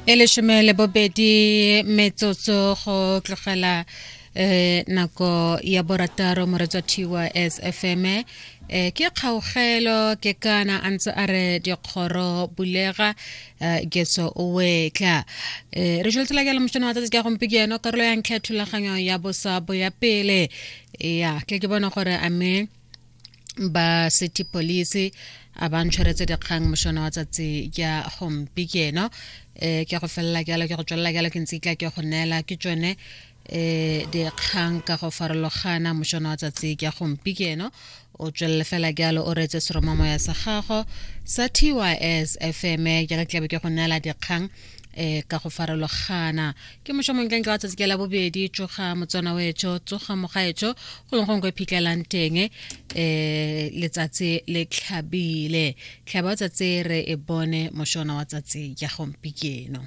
E 12 metsotso go tlogela nako ya borataro, moretswa thiwa SFM. Ke kgaogelo ke kana a ntse a re dikgoro bulega, getso o wetla. Re jweletsela ke le mošono wa tsatsi ka gompieno, karolo ya ntlha ya thulaganyo ya bosa bo ya pele. Ya ke ke bona gore a mme ba city police a ba ntshwaretse dikgang mošono wa tsatsi ya gompieno. Ke go felela jalo, ke go tswelela jalo, ke ntse tla ke go neela ke tsone dikgang ka go farologana mošono wa tsatsi ya gompieno. O tswelele fela jalo o reetse seromamoya sa gago sa TYS FM, jaaka tlabe ke go neela dikgang ka go farologana. Ke mošo montlentle wa tsatsi ke la bobedi. Tsoga motswana wetsho, tsoga mogaetsho, go leng gongwe phitlhelang teng. Letsatsi le tlhabile, tlhaba wa tsatsi re e bone mošona wa tsatsi ya gompieno.